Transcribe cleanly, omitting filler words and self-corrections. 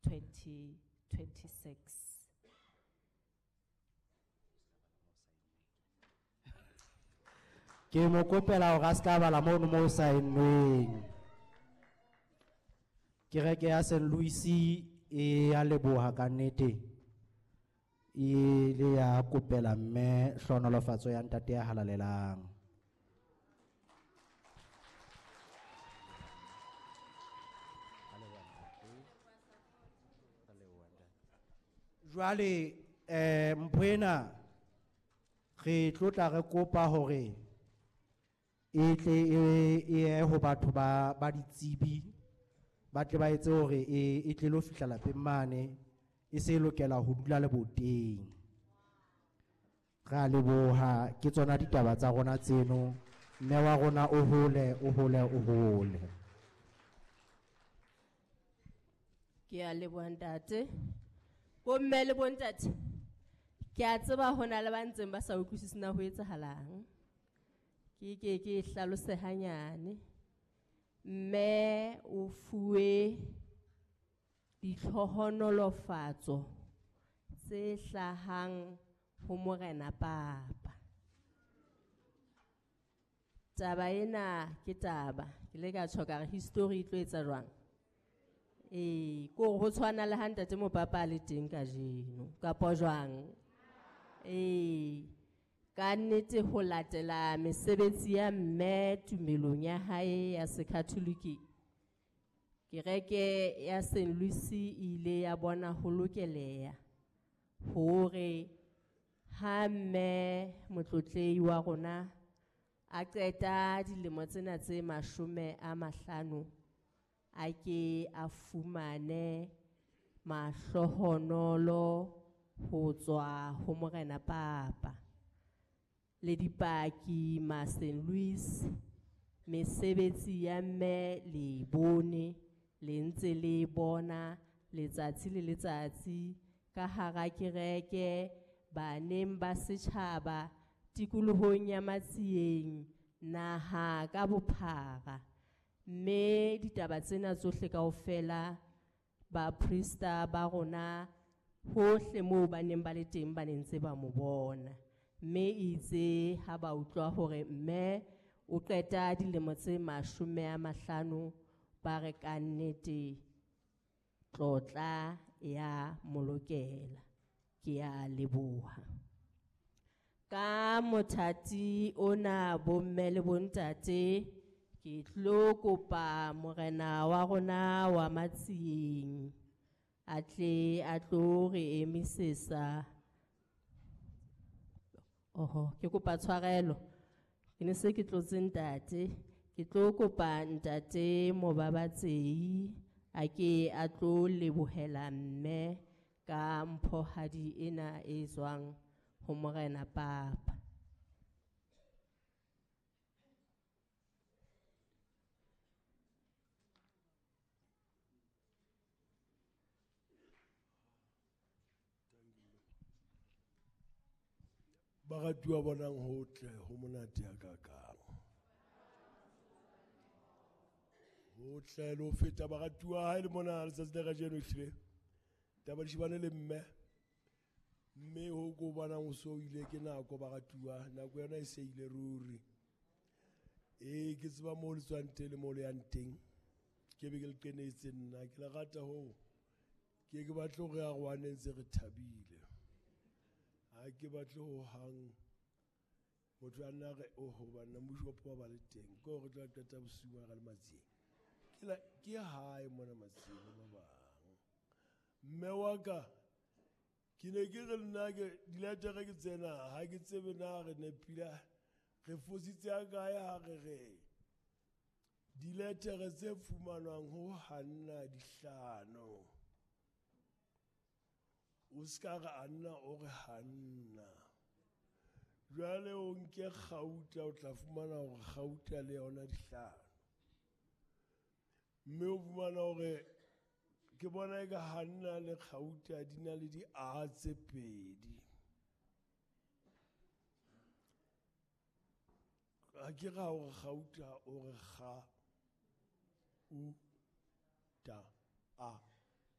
2026. Ke mo kopela hore a se ka bala mono mo saennweng. Kereke ya St. Louis e a leboha ka nnete. E le ya kopela mme hlohonolofatso ya ntate ya halalelang. Jwale mpho ena re tlotla re kopa hore e tle e ye ho batho ba ditsebi ba tle ba etse hore e tle lo fihla lapeng mane e se lokela ho dula leboteng. Re a leboha, ke tsona ditaba tsa rona tseno. Mme wa rona o hole, o hole, o hole. Ke a leboha ntate. Bomme le bontate, ke a tseba ho na le ba ntseng ba sa utlwisise na ho etsahalang. Ke ke ke hlalose hanyane. Mme o fuwe ditlhohonolofatso tse hlahang ho Morena Papa. Taba ena ke taba, ke le ka tjho ka re history e tlo etsa jwang? Ko ho tshwana le ha ntate Mopapa a le teng kajeno, kapa jwang? Ka nnete ho latela mesebetsi ya mme tumelong ya hae ya Sekatholiki, kereke ya St. Louis e ile ya bona ho lokeleha hore ha mme motlotlehi wa rona a qeta dilemo tsena tse 50 a ke a fumane mahlohonolo ho tswa ho Morena Papa. Le dipaki ma St. Louis, mesebetsi ya mme le bone, le ntse le bona letsatsi le letsatsi ka hara kereke, baneng ba setjhaba tikolohong ya Matsieng, naha ka bophara. Mme ditaba tsena tsohle kaofela baprista ba rona hohle moo ba neng ba le teng ba ne ntse ba mo bona. Mme itse ha ba utlwa hore mme o qeta dilemo tse 50 ba re ka nnete tlotla ya molokela. Ke a leboha. Ka mothati ona bomme le bontate, ke tlo kopa morena wa rona wa Matsieng a tle a tlo re emisesa. Oho, ke kopa tshwarelo. Ke ne se ke tlotse ntate. Ke tlo kopa ntate Mobabatsei a ke a tlo lebohela mme ka mphohadi ena e tswang ho Morena Papa. Baratuwa bonang hotle ho monate ya kakang. Hotle le ho feta baratuwa ha e le mona letsatsi la kajeno ehlile. Taba di shebane le mme. Mme ho ko bonang o so ile ke nako baratuwa, nako yona e se ile ruri. Ke tseba moo le tswang teng le moo le yang teng. Ke be ke le qenetse nna, ke le rata hoo. Ke ke batle hore a rwane ntse re thabile. Ha ke batle ho hang motho a nna re, oho, banna, moshopo ba le teng. Ke hore re tla qeta bosiu ba re le Matsieng. Ke la, ke hae mona Matsieng ba bang. Mme wa ka, ke ne ke re nna ke diletere ke tsena, ha ke tsebe na re nepile, re fositse a kae ha re re diletere tse fumanwang ho Hanna dihlano. O ska re Anna o re Hanna. Jwale o nke kgauta, o tla fumana hore kgauta le yona dihlano. Mme o fumana hore ke bona eka Hanna le kgauta di na le di A tse pedi. Ha ke ra hore kgauta o re kga U ta A.